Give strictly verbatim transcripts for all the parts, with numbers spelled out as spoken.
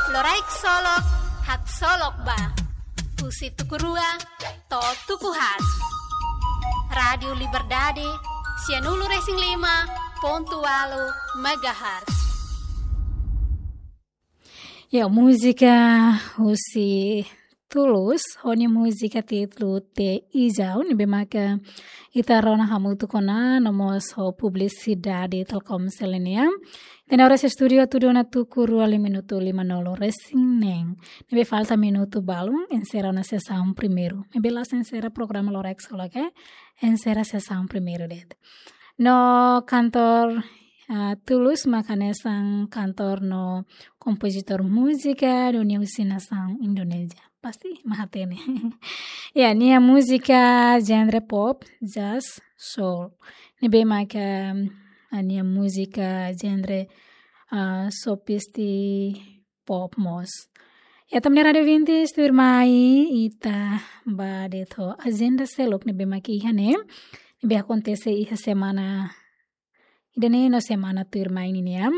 Loraik Solok, haksolok ba. Husi tuku rua to'o tuku haat. Rádiu Liberdade, sianulu-resin-lima pontu ualu megahertz. Ya, múzika husi Tulus, ho nia múzika títulu Te Ijau, ne'ebé maka ita rona hamutuk ona, no mós ho publisidade Telkomsel nian. Ita-nia oras estúdiu atu dua ona tuku rua, lima minutu limanulu-resin-neen. Ne'ebé falta minutu balun, enserra ona sesaun primeiru. Ne'ebé la'ós enserra programa Loraik Solok, enserra sesaun primeiru de'it. No kantór, ah, Tulus mak hanesan kantór no kompozitór múzika do nia husi nasaun Indonézia. Pasti mak hatene. Ya, nia múzika genre pop, jazz, soul. Ne'ebé maka, ah, nia múzika genre, ah, sopisti pop mós. Ya, ita-nia rádiu ouvintes, tuirmai ita bá de'it ho ajenda seluk ne'ebé mak iha ne'e. Ne'ebé akontese iha semana ida-ne'e no semana tuirmai ninian.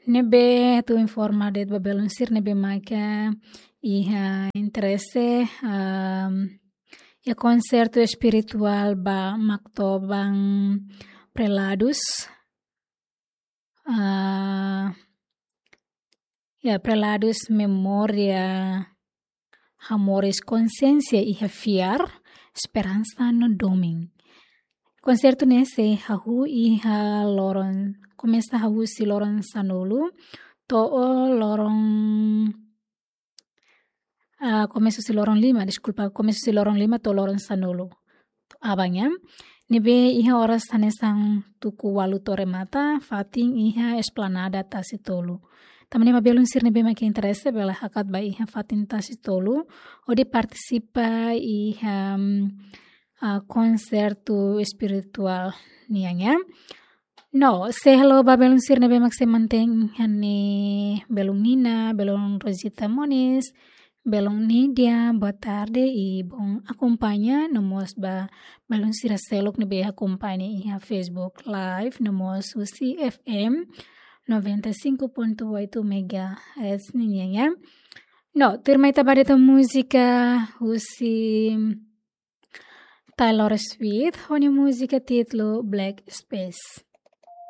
Ne'ebé atu informa de'it ba belun sira ne'ebé maka iha interese, am, iha konsertu espirituál ba Maktoban Preladus. Ah, ya, Preladus Memória Hamoris Konsiénsia iha Fiar, Esperansa no Domin. Konsertu ne'e sei hahú iha loron, komesa hahú husi loron sanulu to'o loron, ah, komesa husi loron lima, deskulpa, komesa husi loron lima to'o loron sanulu aban nian. Ne'ebé iha oras hanesan tuku ualu to'o remata, fatin iha Esplanada Tasi Tolu. Tanba ne'e ba belun sira ne'ebé mak interese bele hakat ba iha fatin Tasi Tolu, hodi partisipa iha, mm, ah, konsertu espirituál nian, ya. No, sei halo ba belun sira ne'ebé mak sei mantein iha ne'e, belun Nina, belun Rosita Moniz, belun Nidia, boa tarde i bom akompaña, no mós ba belun sira seluk ne'ebé akompaña iha Facebook Live, no mós husi F M noventa e cinco ponto oito megahertz ninian, ya. No, tuirmai ita bá de'it ho múzika husi Taylor Swift, ho nia múzika títulu Blank Space.